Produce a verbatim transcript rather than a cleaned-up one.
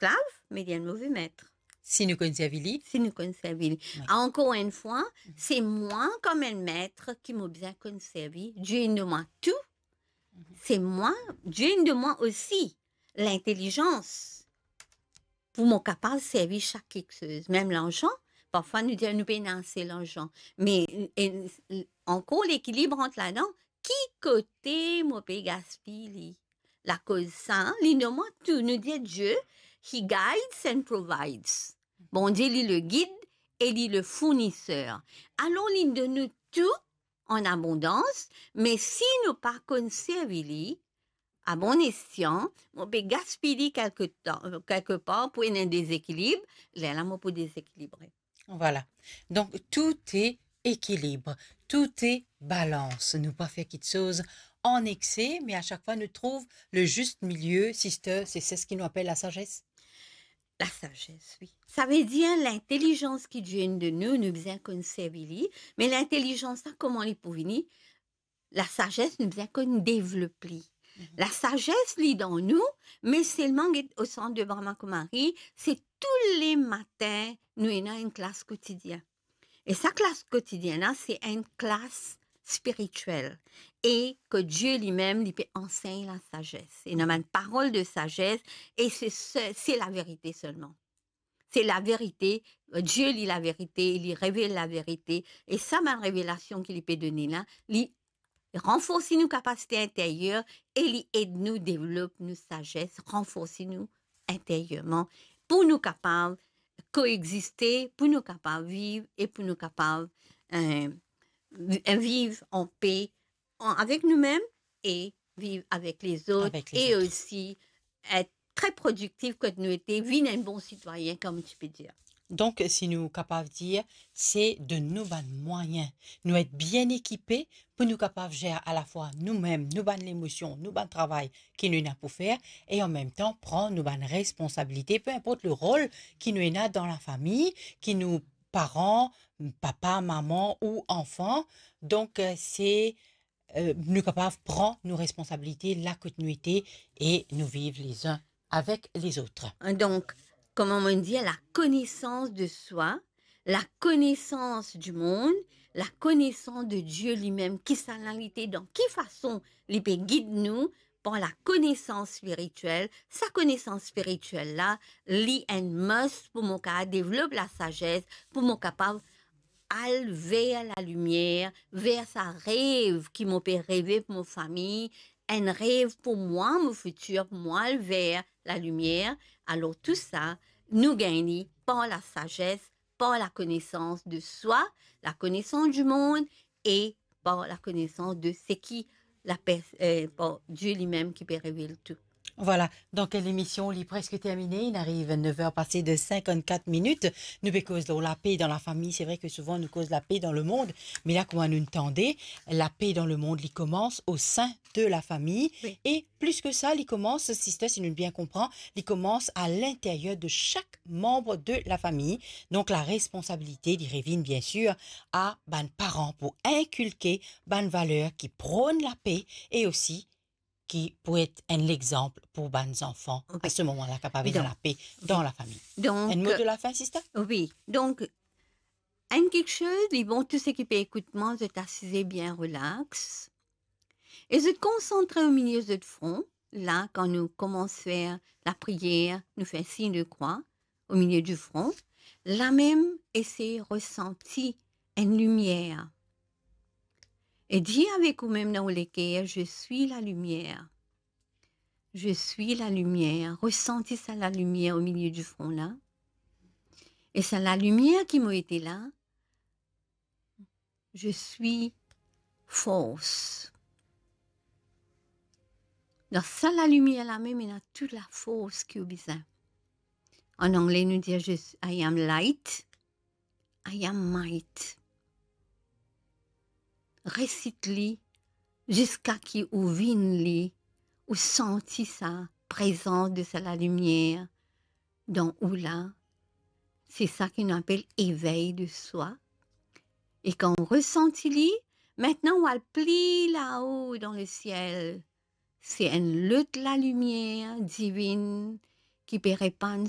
esklav, me li enn move met. Si nou konn servi li. Si nou konn servi li. Wi. Ankor enn fwa, se mwa kouma enn met ki mo bizin konn servi. Die inn donn mwa tou. Mhm. Se mwa, Die inn donn mwa osi lintelizans pou mo kapav servi sak kiksoz. Mem larzan, parfwa nou dir nou pena ase larzan. Me, e, ankor lekilib rant ladan, ki kote mo pe gaspiy li? Lakoz sa, li donn mwa tou. Nou dir Die, he guides and provides. Bondie, li le gid e li le fourniser. Alor, li donn nou tou an abondans, me si nou pa konn servi li, a bon esyan, mo pe gaspiy li kelke tan, kelke par pou ena dezekilib, lerla mo pou dezekilibre. Vwala. Donk, tou e ekilib, tou e balans. Nou pa fer kiksoz an ekse, me a sak fwa nou trouv le zis milie, sister, se, se seki nou apel lasazes. Lasazes, wi. Savedir lintelizans ki Die inn donn nou, nou bizin konn servi li, me lintelizans la, kouma li pou vini? Lasazes, nou bizin konn devlop li. Mhm. Lasazes, li dan nou, me selman get o sant de Brahma Kumari, se touletan nou ena enn klas kotidien. E sa klas kotidien la, se enn klas spiritiel. E ki Die limem, li pe ansegn lasazes. Ena bann parol de sazes, e se, se, se laverite selman. Se laverite, Die li laverite, li revel laverite. E sa bann revelasion ki li pe done la, li ranforsi nou kapasite interyer e li ed nou devlop nou sazes, ranforsi nou interierman pou nou kapav koexiste, pou nou kapav viv e pou nou kapav, eh, vi-, viv an pe an, avek noumem e viv avek lezot, avek lezot, e osi et tre prodiktif kot nou ete, vinn enn bon sitwayin, kouma ti pe dir. Donk, si nou kapav dir, se donn nou bann mwayin, nou et bien ekipe pou nou kapav zer alafwa noumem, nou bann lemosion, nou bann travay ki nou ena pou fer, e an mem tan pran nou bann responsabilite, pe inport le rol ki nou ena dan lafami, ki nou paran, papa, mama ou anfan. Donk, eh, se eh, nou kapav pran nou responsabilite la kot nou ete e nou viv lezin avek lezot. Donk, kouma mo dir, lakonesans de swa, lakonesans di mond, lakonesans de Die limem, kisannla li ete, dan ki fason li pe gid nou par lakonesans spiritiel. Sa konesans spiritiel la, li enn must pou mo kapav devlop lasazes, pou mo kapav al ver lalimier, ver sa rev ki mo pe reve pou mo fami, enn rev pou mwa, mo fitir, pou mwa al ver lalimier. Alor, tou sa, nou gagn li par lasazes, par lakonesans de swa, lakonesans di mond e par lakonesans de seki la per-, eh, par Die limem ki pe revel tou. Vwala, donk lemision li preske termine, li ariv nef er pase de sinkannkat minit. Nou pe koz lor lape dan lafami. Se vre ke souvan nou koz lape dan lemond, me la, kouma nou tande, lape dan lemond, li koumans o sin de lafami. Wi. E plis ke sa, li koumans, sister, si nou bien konpran, li koumans a linteryer de sak manb de lafami. Donk, laresponsabilite, li revinn, bien sir, a bann paran pou inkilke bann valer ki pronn lape e osi ki pou et enn lexanp pou bann zanfan, wi, a se moman la, kapav ena, donk, lape dan, wi, lafami. Donk, enn mo de lafin, sister? Wi. Donk, enn kiksoz, li bon, tou seki pe ekout mwa, zot asize bien relax. E zot konsantre o milie zot fron. La, kan nou koumans fer lapriyer, nou fer sign de krwa o milie di fron. Lamem, esey resanti enn limier. E dir avek ou mem dan ou leker, "Je suis la lumière. Je suis la lumière." Resanti sa lalimier o milie di fron la. E sa lalimier ki mo ete la, je suis force. Dan sa lalimier lamem, ena tou lafors ki ou bizin. An angle, nou dir, je suis, I am light, I am might. Resit li ziska ki ou vinn li, ou santi sa prezans de sa lalimier dan ou la. Se sa ki nou apel evey de swa. E kan ou resanti li, aster ou al pli lao dan lesiel. Se enn lot lalimier divin ki pe repann